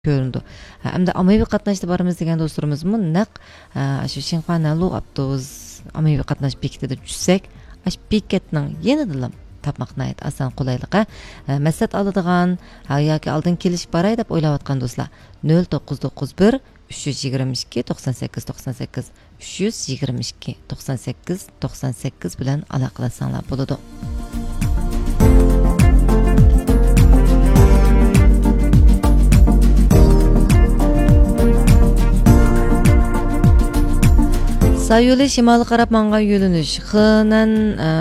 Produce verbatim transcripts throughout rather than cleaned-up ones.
كۆرۈنىدۇ. ھە، ئەمدى ئاممىۋى قاتناشتا بارىمىز دېگەن دوستلىرىمىزمۇ نەق، ھە، شۇ شىنخۇا نەنلۇ ئاپتوبۇس ئاممىۋى قاتناش بېكىتىدە چۈشسەك، ئاشۇ بېكەتنىڭ يېنىدىلا تاپماق ناھايىتى ئاسان، قولايلىق، ھە. ھە، مەسلىھەت ئالىدىغان، ھە، ياكى ئالدىن كېلىشىپ باراي دەپ ئويلاۋاتقان دوستلار، نۆل توققۇز توققۇز بىر، ئۈچ يۈز يىگىرمە ئىككى، توقسان سەككىز، توقسان سەككىز، ئۈچ يۈز يىگىرمە ئىككى، توقسان سەككىز، توقسان سەككىز بىلەن ئالاقىلەشسەڭلار بولىدۇ. سايولى شىمالغا قاراپ ماڭغان يۆنىلىش. خېنەن، ئە،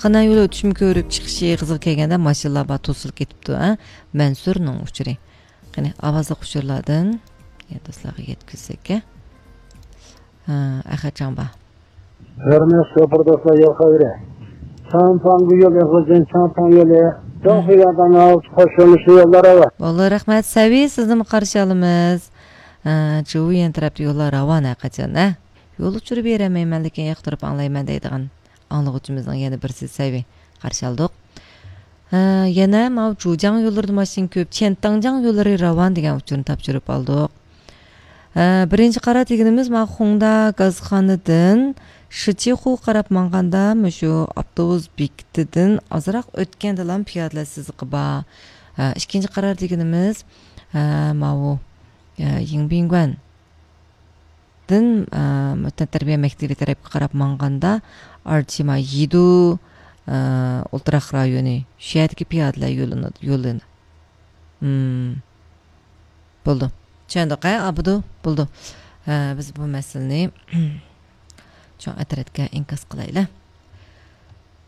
خېنەن يولى ئۆتۈشمە كۆرۈپ چىقىشى قىزىغا كەلگەندە ماشىنىلار بار توسۇلۇپ كېتىپتۇ، ھە. مەنسۇرنىڭ ئۇچۇرى. قېنى، ئاۋازلىق ئۇچۇرلاردىن يەنە دوستلارغا يەتكۈزسەك، ھە. ھە، ئەخەتجان بار. ھۆرمەتلىك شوپۇر دوستلار، يول خەۋىرى. چاڭپاڭ يولى، غۇلجىن چاڭپاڭ يولى. داڭ خۇيادان ئالتە قوشۇلۇشى يوللار ئەۋە. بولدى، رەھمەت. سەۋى، سىزنىمۇ قارشى ئالىمىز. ھە، جۇۋيەن تەرەپتە يوللار راۋان ھەرقاچان، ھە. يول ئۇچۇرى بېرەلمەيمەن، لېكىن ياقتۇرۇپ ئاڭلايمەن دەيدىغان ئاڭلىغۇچىمىزنىڭ يەنە بىرسى سەۋى، قارشى ئالدۇق. ھە، يەنە ماۋۇ جۇجياڭ يوللىرىدا ماشىنا كۆپ، چيەنتاڭجياڭ يوللىرى راۋان دېگەن ئۇچۇرنى تاپشۇرۇپ ئالدۇق. ھە، بىرىنچى قارار دېگىنىمىز ماۋۇ خۇڭدا گازخانىدىن شىچىخۇغا قاراپ ماڭغاندا مۇشۇ ئاپتوبۇس بېكىتىدىن ئازراق ئۆتكەندىلا پىيادىلەر سىزىقى بار. ھە، ئىككىنچى قارار دېگىنىمىز، ھە، ماۋۇ، ھە، يىڭبىڭگۇەن دىن، ئە، تەنتەربىيە مەكتىۋى تەرەپكە قاراپ ماڭغاندا، ئارچىما يىدۇ، ئە، ئولتۇراق رايونى، شۇ يەردىكى پىيادىلەر يولىنى، يولىنى. مم. بولدى. چۈشەندۇق، ھە، ئابدۇ؟ بولدى. ھە، بىز بۇ مەسىلىنى چوڭ ئەترەتكە ئىنكاس قىلايلى.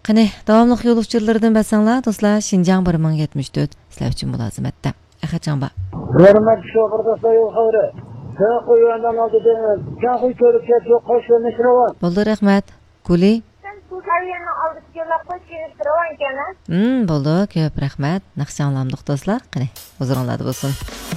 قېنى، داۋاملىق يول ئۇچۇرلىرىدىن بەرسەڭلار، دوستلار، شىنجاڭ بىر مىڭ يەتمىش تۆت، سىلەر ئۈچۈن مۇلازىمەتتە. ئەخەتجان بار. ھۆرمەتلىك شوپۇر دوستلار، يول خەۋىرى. چاڭخۇي يۈەندەن ئالدىدا، چاڭخۇي كۆرۈپ كەتتۇق، قوش يۆنىلىش راۋان. بولدى، رەھمەت. گۇلى. سەن سۇ ئايراننىڭ ئالدىدىكى يوللار قوش يۆنىلىش راۋان ئىكەن، ھە؟ ھىم، بولدى، كۆپ رەھمەت. ناخشا ئاڭلامدۇق دوستلار؟ قېنى، ھۇزۇرۇڭلاردا بولسۇن.